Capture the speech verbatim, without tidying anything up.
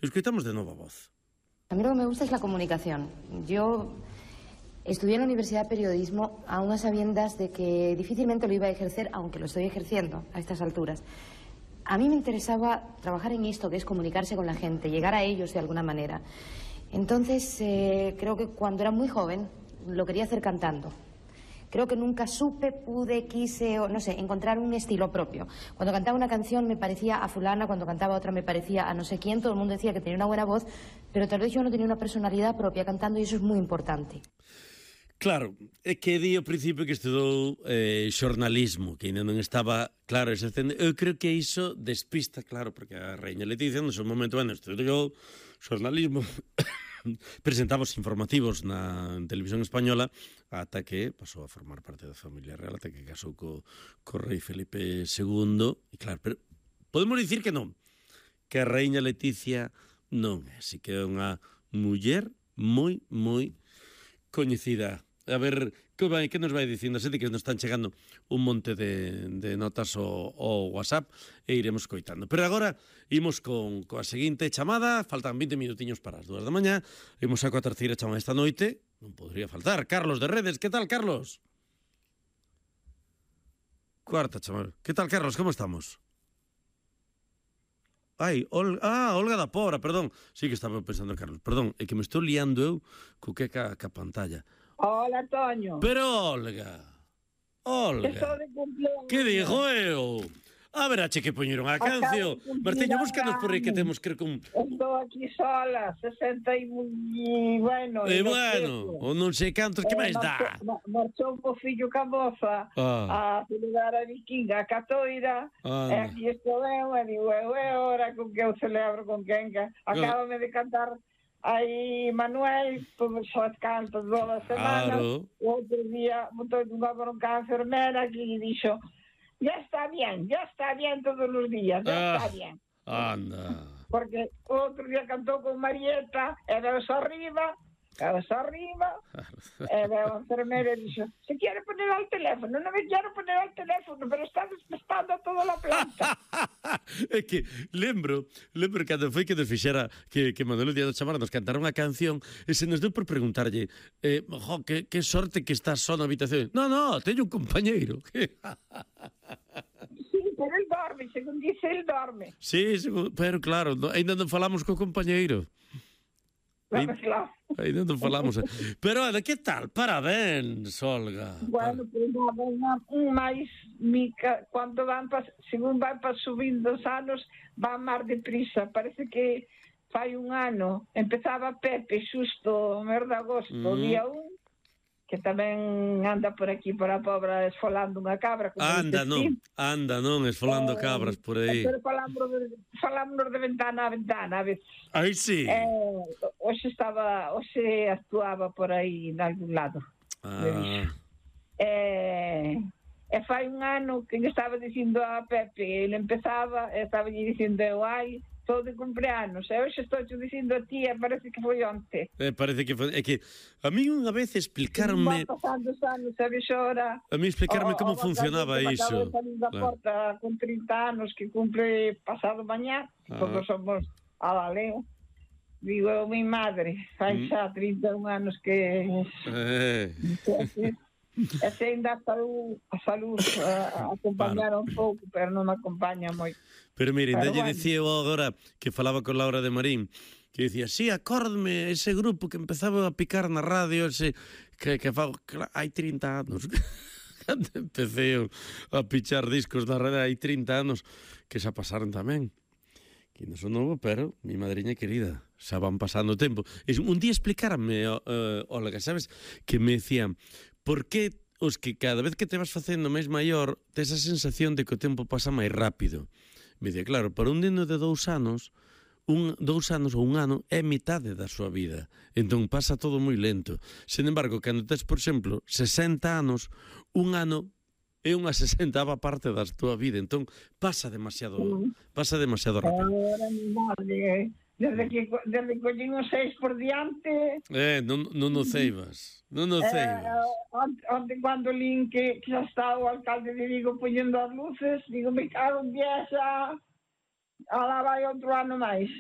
Escoitamos de novo a voz. A mí lo que me gusta es la comunicación. Yo estudié en la Universidad de Periodismo a unas sabiendas de que difícilmente lo iba a ejercer, aunque lo estoy ejerciendo a estas alturas. A mí me interesaba trabajar en esto, que es comunicarse con la gente, llegar a ellos de alguna manera. Entonces, eh, creo que cuando era muy joven lo quería hacer cantando. Creo que nunca supe, pude, quise, o no sé, encontrar un estilo propio. Cuando cantaba una canción me parecía a fulana, cuando cantaba otra me parecía a no sé quién. Todo el mundo decía que tenía una buena voz, pero tal vez yo no tenía una personalidad propia cantando, y eso es muy importante. Claro, é que di ao principio que estudou eh, xornalismo, que ainda non estaba claro exercendo. Eu creo que iso despista, claro, porque a Reina Leticia no seu momento, bueno, estudou xornalismo, presentaba os informativos na televisión española, ata que pasou a formar parte da familia real, ata que casou co, co rei Felipe segundo, e claro, pero podemos dicir que non, que a Reina Leticia non é, así que é unha muller moi, moi coñecida. A ver, que, vai, que nos vai dicindo a xente, que nos están chegando un monte de, de notas ao, ao WhatsApp, e iremos coitando. Pero agora imos con coa seguinte chamada. Faltan vinte minutiños para as dúas da mañá. Imos a coa terceira chamada esta noite. Non podría faltar. Carlos de Redes, que tal, Carlos? Cuarta chamada. Que tal, Carlos, como estamos? Ai, Ol... ah, Olga da Pobra, perdón. Sí que estaba pensando en Carlos, perdón, é que me estou liando eu co que ca, ca pantalla. Hola, Toño. Pero, Olga, Olga, Estou de cumpleaños. que digo eu? A ver, ache que poñeron a canción. Martiño, búscanos por aí que temos, creo que un... Estou aquí sola, sesenta e... bueno... E bueno, o non sei cantos, que máis dá? Marchou o fillo ca moza a celebrar a vikinga, a catoira, e aquí estou eu, e digo, eu é hora con que eu celebro con Kenca. Acábame de cantar aí Manuel, todos os cantos toda a semana. O outro día botou unha bronca a enfermera que dixo, ya está bien, ya está bien todos os días, ya ah, está bien. Anda. Porque o outro día cantou con Marieta, e veos arriba, veos arriba, e veo a enfermera e dixo, se quiere poner al teléfono, non me quiero poner al teléfono, pero está despestando toda a planta. É que lembro, lembro cando foi que nos fixera que, que Manuel Díaz do Chamara nos cantara unha canción, e se nos deu por preguntarlle, eh, jo, que, que sorte que estás só na habitación. No, no, teño un compañeiro. Sí, pero el dorme, según dice, el dorme. Sí, pero claro, no, ainda non falamos co compañeiro. Claro, claro. Ainda non falamos. Pero, Ada, que tal? Parabéns, Olga. Bueno, pues nada, un máis mica, cando van pa, según van pa subindo os anos, van máis deprisa. Parece que fai un ano, empezaba Pepe xusto o mes de agosto, mm. día un, que tamén anda por aquí, por a Pobra, esfolando unha cabra. Anda, non, anda, non, esfolando eh, cabras por aí. Pero falamos de, falamos de ventana a ventana, a veces. Aí sí. Eh, hoxe estaba, hoxe actuaba por aí, en algún lado. Ah. Eh, e fai un ano que lle estaba dicindo a Pepe, ele empezaba, e estaba lle dicindo eu, ai, estou de cumpleanos, e hoxe estou te dicindo a ti, e parece que foi onte. Eh, parece que foi, é que a mí unha vez explicarme... Van pasando os anos, a vez hora... A mí explicarme como funcionaba iso. Acabo de salir da porta con trinta anos, que cumple pasado mañá, ah. todos somos a Valeo. Digo, eu, mi madre, fai xa trinta e un anos que... Eh... E se ainda a salud, a salud a, a acompañar un pouco, pero non me acompaña moito. Pero mire, ainda lle dicía eu agora que falaba con Laura de Marín, que dicía, sí, acórdame ese grupo que empezaba a picar na radio, ese que, que fa, que hai trinta anos. Cando empecé eu a pichar discos na radio, hai trinta anos, que xa pasaron tamén. Que non son novo, pero mi madriña querida, xa van pasando o tempo. E un día explicarme, uh, Olga, sabes, que me decían, por que os que cada vez que te vas facendo máis maior tes a sensación de que o tempo pasa máis rápido? Me dicía, claro, para un neno de dous anos, un, dous anos ou un ano é mitade da súa vida, entón pasa todo moi lento. Sen embargo, cando tes, por exemplo, sesenta anos, un ano é unha sesentava parte da túa vida, entón pasa demasiado, pasa demasiado rápido. Ahora, mi madre, desde que desde que collín os seis por diante... Eh, non, non o ceibas, non o ceibas. Eh, onde cando lín que, que xa está o alcalde de Vigo poñendo as luces, digo, me cago en pieza, ala vai outro ano máis.